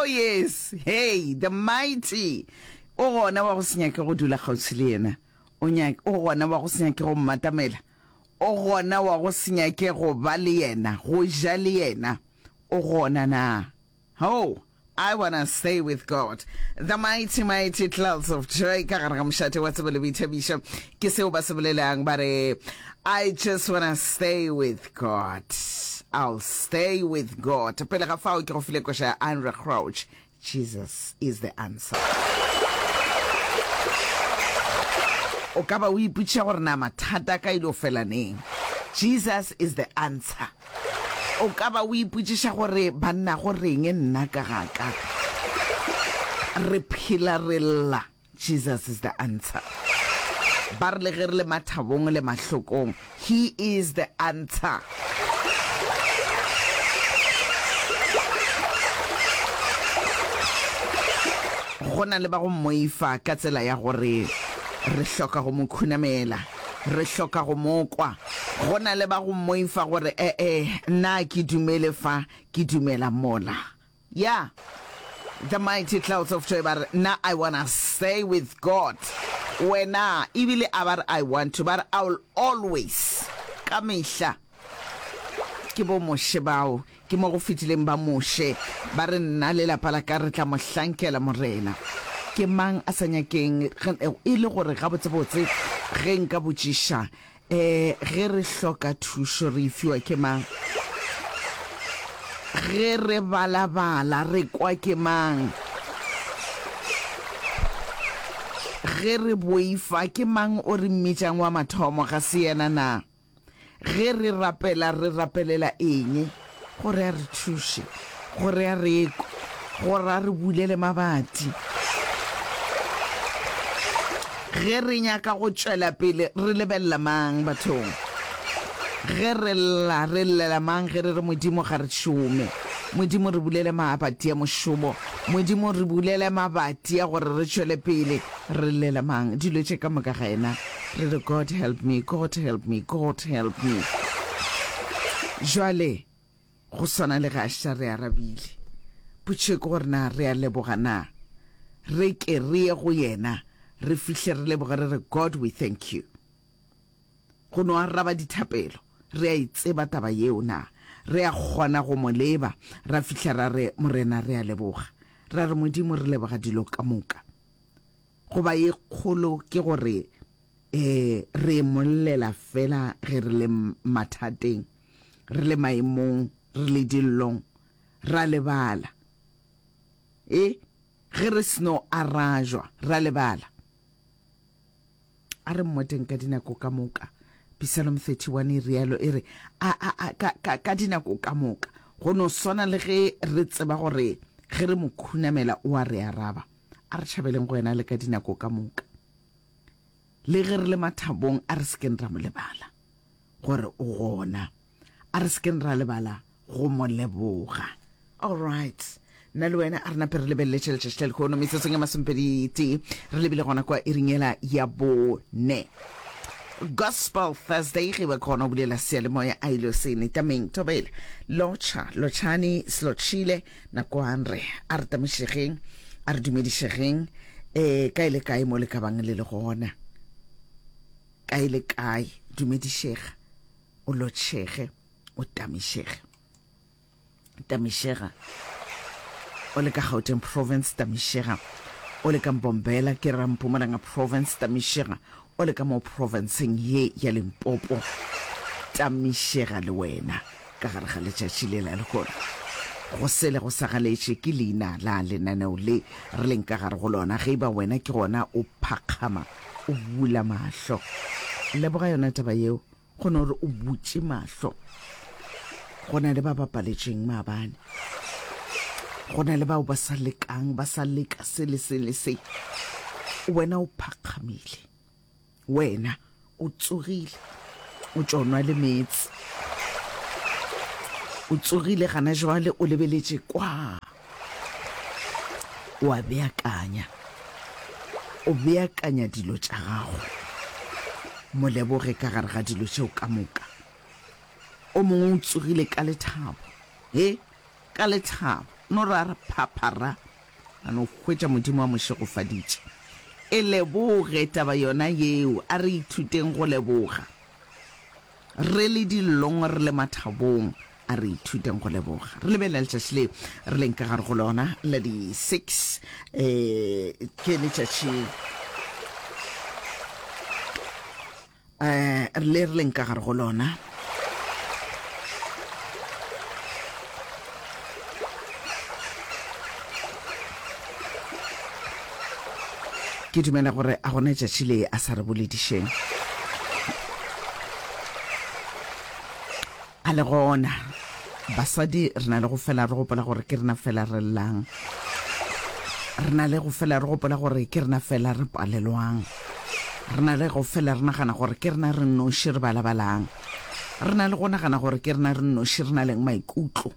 Oh yes, hey, the mighty. O gona wa go se nyake go dula kgauswi le yena. O nyake, o gona wa go se nyake go mmatamela. O gona wa go se nyake go ba le yena, go ja le yena. O gona na? Oh, I wanna stay with God. The mighty, mighty clouds of joy ka gare ga mošate wa tsebo le boithabišo. Ke seo ba se bolelang ba re, I just wanna stay with God. I'll stay with God. Pele ga fao ke go file koša ya Andre Crouch. Jesus is the answer. O ka ba o ipotšiša gore na mathata a ka ile o fela neng. Jesus is the answer. O ka ba o ipotšiša gore banna go reng nna ka ga ka. Re phela re lla. Jesus is the answer. Ba re le ge re le mathabong le mahlokong, He is the answer. Go na le ba go mmoifa ka tsela ya gore re hloka go mo khunamela, re hloka go mo kwa. Go na le ba go mmoifa gore, E-e, nna a ke dumele fa, ke dumela mola. Ya, The Mighty Clouds of Joy ba re, Nna I wanna stay with God. Wena, ebile a ba re I want to, ba re I will always, ka mehla. Ke bo Moshe bao, ke mo go fetileng ba Moshe, ba re nna le lapa la ka re tla mo hlankela Morena. Ke mang a sa nyakeng, e le gore gabotsebotse ge nka botšiša, Ee, ge re hloka thušo re e fiwa ke mang? Ge re balabala re kwa ke mang? Ge re boifa ke mang o re mmitšang wa mathomo, ga se yena na? Ge re rapela re rapelela eng? Gore a re thuše, gore a re kwe, gore a re bulele mabati. Ge re nyaka go tšwela pele, re lebelela mang bathong? Ge re lla, re llela mang ge re re Modimo ga re šome? Modimo re bulele mabati a mošomo. Modimo re bulele mabati a gore re tšwele pele. Re llela mang? Dilo tše ka moka ga yena. Re re, God help me, God help me, God help me. Jwale, go swana le ge a šetša re arabile, potšišo ke gore na re a leboga na? Re ke re ye go yena, re fihle re leboge re re, God we thank you. Go no araba dithapelo, re a e tseba taba yeo na? Re a kgona go mo leba, ra fihla ra re, Morena re a leboga. Ra re, Modimo re leboga dilo ka moka. Goba ye kgolo ke gore e re mo llela fela ge re le mathateng, re le maemong, re le dillong, ra lebala. E, ge re seno arajwa, ra lebala. A re mmoteng ka dinako ka moka. Psalm 31 e rialo, e re, A, a, a, ka, ka, ka dinako ka moka. Go no swana le ge re tseba gore ge re mo khunamela o a re araba. A re tšhabeleng go yena le ka dinako ka moka. Le ge re le mathabong, a re se keng ra mo lebala gore o gona. A re se keng ra lebala go mo leboga. All right. Nna le wena a re nape re lebelele tše letšatši la lehono metsotsong ya masomepedi tee re lebile gona kwa iring yela ya bone. Gospel Thursday ge ba kgona go bulela seyalemoya a ile se netameng thobela lotšha lotšhani slotšhile nakoang re a re tamišegeng a re dumedišegeng um kae le kae mo le ka bang le le gona kae le kae dumedišega o lotšhege o tamišege Tamišega o le ka Gauteng Province, Tamišega o le ka Mbombela, ke ra Mpumalanga Province, Tamišega o le ka mo provinceng ye ya Limpopo, Tamišega le wena ka gare ga letšatši le la lehono. Go sele go sa galetše ke leina la lenaneo le re leng ka gare go lona. Ge e ba wena ke gona o phakgama o bula mahlo, leboga yona taba yeo. Go no re o butše mahlo. Go na le ba ba paletšeng maabane. Go na le bao ba sa lekang, ba sa leka se le se le se. Wena o phakgamile. Wena o tsogile. O tšo nwa le meetse. O tsogile gana jwale o lebeletše kwa. O a beakanya. O beakanya dilo tša gago. Mo leboge ka gare ga dilo tšeo ka moka. O mongwe o tsogile ka lethabo. He, ka lethabo. No ra re phaphara, a no hwetša Modimo a mo šegofaditše. E leboge taba yona yeo, a re ithuteng go leboga. Re le dillong, re le mathabong, a re ithuteng go leboga. Re lebelela letšatši le re leng ka gare go lona la di 6, eh, ke letšatši eh, le re leng ka gare go lona. Ke dumela gore a gona tšatši le a sa re boledišeng. A le gona, basadi re na le go fela re gopola gore ke rena fela re llang. Re na le go fela re gopola gore ke rena fela re palelwang. Re na le go fela re nagana gore ke rena re nnoši re balabalang. Re na le go nagana gore ke rena re nnoši re na leng maikutlo.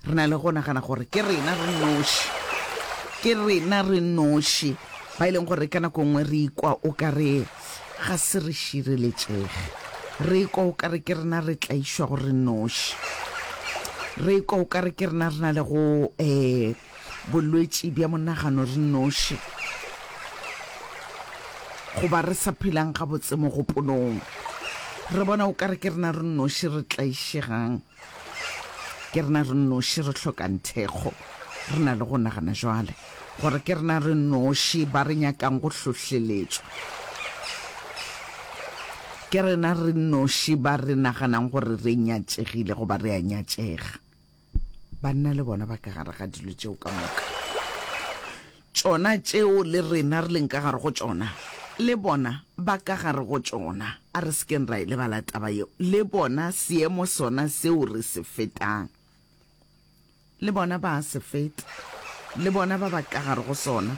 Re na le go nagana gore ke rena re nnoši, ke rena re nnoši ba e leng gore ka nako nngwe re ikwa o ka re ga se re šireletšege. Re ikwa o ka re ke rena re tlaišwago re nnoši. Re ikwa o ka re ke rena re na le go um bolwetši bja monagano re nnoši, goba re sa phelang gabotse mogopolong. Re bona o ka re ke rena re nnoši re tlaišegang. Ke rena re nnoši re hlokang thekgo. Re na le go nagana jwale gore ke rena re nnoši ba re nyakang go hlohleletšwa. Ke rena re nnoši ba re naganang gore re nyatšegile goba re a nyatšega. Banna le bona ba ka gare ga dilo tšeo ka moka. Tšona tšeo le rena re leng ka gare go tšona, le bona ba ka gare go tšona. A re se keng ra e lebala taba yeo. Le bona seemo sona seo re se fetang, le bona ba a se feta. Le bona ba ba ka gare go sona.